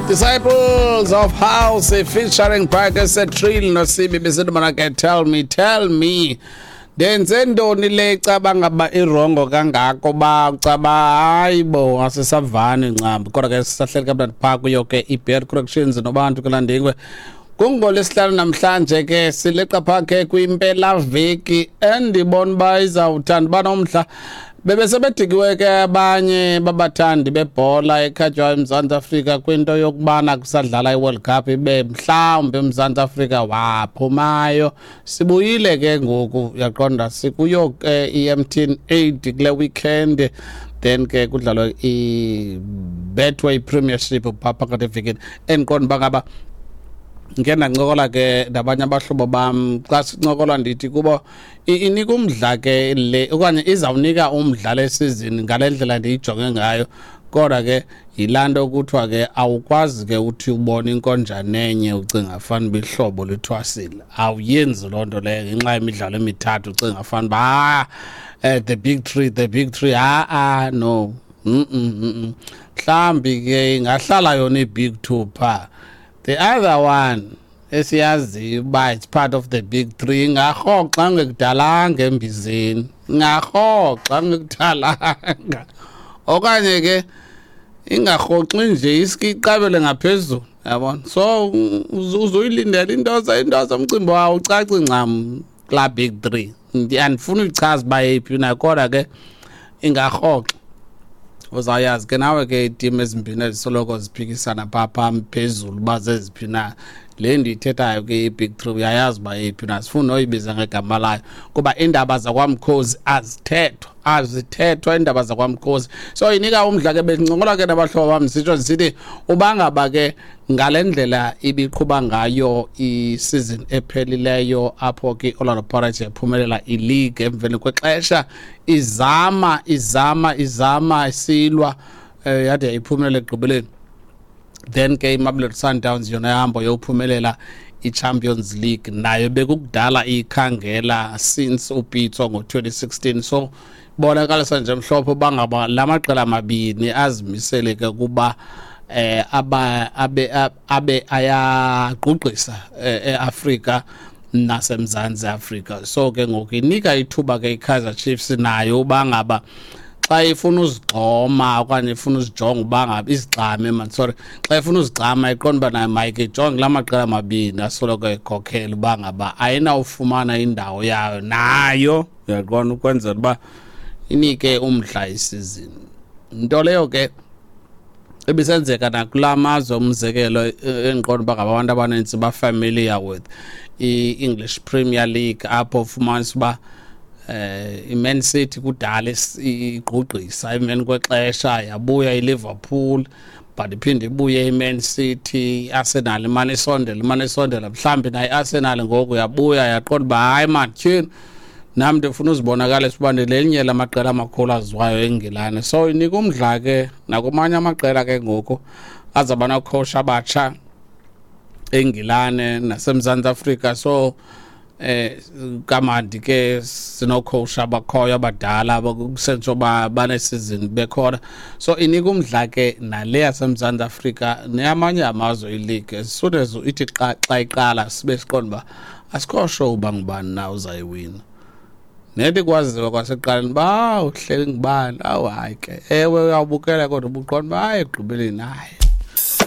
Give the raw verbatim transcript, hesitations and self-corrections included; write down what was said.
Disciples of House featuring Parker Trill noSibi, besithi mana ke "Tell Me, Tell Me". Ndenze ntoni le caba ngaba i-wrong kangako ba ucaba hayi bo, asisavani ncam? Kodwa ke sisahleli kamnandi phaa kuyo ke i-Bad Corrections nobantu kulandingwe. KungolwesiHlanu namhlanje ke, sileqa phaa ke kwimpelaveki endibona uba izawuthanda uba nomdla. Bebesebedikiwe ke abanye babathandi bebhola ekhatywayo eMzantsi Afrika kwinto yokubana kusadlala i-World Cup, ibe mhlawumbi eMzantsi Afrika waphumayo. Sibuyile ke ngoku, uyaqonda, sikuyo ke i-M T N eight kule weekend, then ke kudlalwe i-Betway Premiership phaa phakathi evikini. Endiqonda uba ngaba ngike ndancokola ke nabanye abahlobo bam, xa sincokola ndithi kubo inika umdla ke le okanye izawunika umdla le season ngale ndlela ndiyijonge ngayo. Kodwa ke yilaa nto kuthiwa ke awukwazi ke uthi ubone inkonjane enye ucinga fanuba ihlobo lithwasile. Awuyenzi loo nto leyo ngenxa yemidlalo emithathu ucinga fanuba ah, eh, the big three, the big three. Ha-a, no, mm -mm, mm -mm. Mhlawumbi ke ingahlala yona i-big two phaa. The other one esiyaziyo uba it's part of the big three ingarhoxa ngekudalanga embizeni, ingarhoxa ngekudalanga, okanye ke ingarhoxi nje, iske iqabele ngaphezulu, yabona. So uzoyilindela into into zomcimbi wawo ucaci ncam kulaa big three. Andifuni uyichaza uba yeyiphi na, kodwa ke ingarhoxa. Uzawuyazi ke nawe ke iitim ezimbini ezisoloko ziphikisana phaa phambi phezulu uba zeziphi na. Le ndiyithethayo ke, i-big three, uyayazi uba yeyiphi na. Sifuna noyibiza ngegama layo kuba iindaba zakwamkhozi azithethwa, azithethwa iindaba zakwamkhozi. So inika umdla ke. Bendicingola ke nabahlobo bam, sitsho ndisithi uba ngaba ke ngale ndlela ibiqhuba ngayo i-season ephelileyo, apho ke i-Orlando Pirates yaphumelela i-league emveni kwexesha izama, izama, izama, isilwa, um yade yayiphumelela ekugqibeleni. Then ke iMamelodi Sundowns yona yahamba yophumelela i-Champions League, nayo bekukudala ikhangela since uPitso ngo-twenty sixteen. So bonakalisa nje mhlophe uba ngaba la maqela mabini azimisele ke kuba eh aba abe abe ayagqugqisa eAfrika naseMzantsi Afrika. So ke ngoku inika ithuba ke iKaizer Chiefs nayo uba ngaba xa ifuna uzigxoma okanye ifuna uzijonga uba ngaba izigxame, man, sorry, xa ifuna uzigxama iqonda uba nayo mayike ijonge la maqela mabini asoloko ekhokhela, uba ngaba ayinawufumana indawo yayo nayo, uyaqonda, ukwenzela uba inike umdla isizini. Nto leyo ke ebisenzeka nakula mazwe, umzekelo, endiqonda uba ngabantu abanintsi ba-familiar with i-English Premier League, apho ufumanisa uba eh iMan City kudala igqugqisa, emveni kwexesha yabuya iLiverpool, but iphinde ibuye iMan City, iArsenal imane isondela, imane isondela. Mhlawumbi nayo iArsenal ngoku yabuya yaqonda uba hayi man, tyhini, nam ndifuna uzibonakalisa uba ndilelinye lamaqela amakhulu aziwayo eNgilane. So inika umdla ke nakumanye amaqela ke ngoku azawuba nocoach abatsha eNgilane naseMzantsi Afrika. So eh kamandi ke sinocoach abakhoyo abadala kusentsho ba banesizini bekhona. So inika umdla ke nale yaseMzantsi Afrika neyamanye amazwe i-league. As soon as ithi xa xa iqala sibe siqonda uba asikho sure uba ngubani na uzayiwina, nethi kwaziwa kwasekuqaleni uba uhleli ngubani. Awu hayi ke, ewe, uyawubukela kodwa ubuqonda uba hayi, ekugqibeleni hayi.